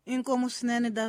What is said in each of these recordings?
Inkomu swinene da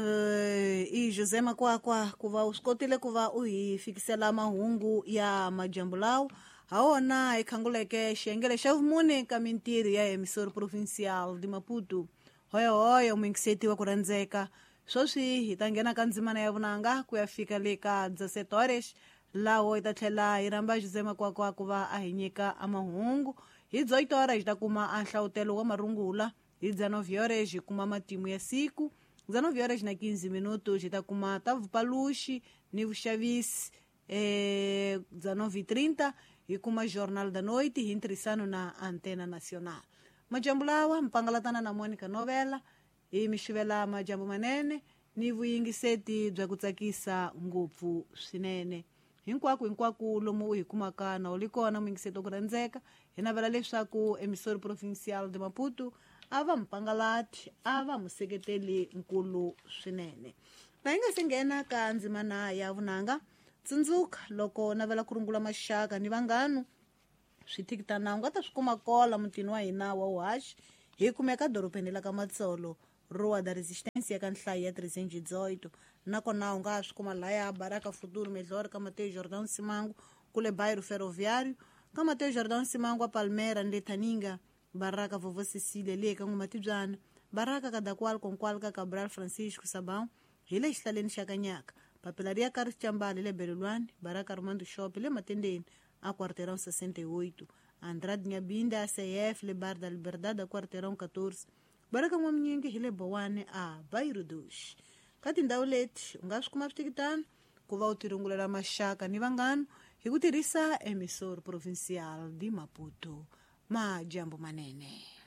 i José Makwakwa ku va u swi kotile ku va u hi fikisela mahungu ya madyambu lawa ha wona hi khanguleke xiyengele xa vumune ka mintirho ya Emissora Provincial de Maputo. Hoyohoyo muyingiseti wa ku rhandzeka, sweswi hi ta nghena ka ndzimana ya vunanga ku ya fika le ka 17 horas, laho hi ta tlhela hi rhamba José Makwakwa ku va a hi nyika a mahungu. Hi 18 horas hi ta kuma a nhlawutelo wa marungula. Hi 19 horas hi kuma matimu ya siku. 19 horas na 15 minutos hi ta kuma ta vupaluxi ni vuxavisi. 19:30 hi kuma Jornal da Noite hi ntirhisano na Antena Nacional. Majambu lawa mpangalatana na Monica Novela hi mi xivela majambu manene ni vuyingiseti bya ku tsakisa ngopfu swinene. Hinkwako hinkwako lomu u hi kumaka na u li kona muyingiseti wa ku rhandzeka, hi navela leswaku Emissora Provincial de Maputo a va mupangalati, a va museketeli nkulu swinene. Na hi nga se nghena ka ndzimana ya vunanga, tsundzuka loko navela ku rungula maxaka ni vanghanu, swithikitana u nga ta swi kuma kola mutini wa hina wa uhaxi. Hi kumeka dorobeni la ka Matsolo, Rua da Resistência ka nhlayo ya 318. Nakona u nga swi kuma laya Baraka Futuro Melhor ka Mateo Jordão Simango, kule Bairro Ferroviário ka Mateo Jordão Simango, a Palmera ni le Thaninga, Baraka Vovó Cecília le ka N'wamatibyana, Baraka Kadakwal Konkwal ka Cabral Francisco Sabão hi le xihlaleni xa Kanyaka, papila ri ya ka Rixambali le Belelwani, Baraka Armando Shop le Matendeni a Quarteirão 68, Andrade Nyabinda ACF le Bar da Liberdade a Quarteirão 14, Baraka N'waminyingi hi le Bowane a Bairro dos. Ka tindhawu leti u nga swi kuma switikitano ku va u tirungulela maxaka ni vanghana hi ku tirhisa Emissora Provincial de Maputo. Majambu manene.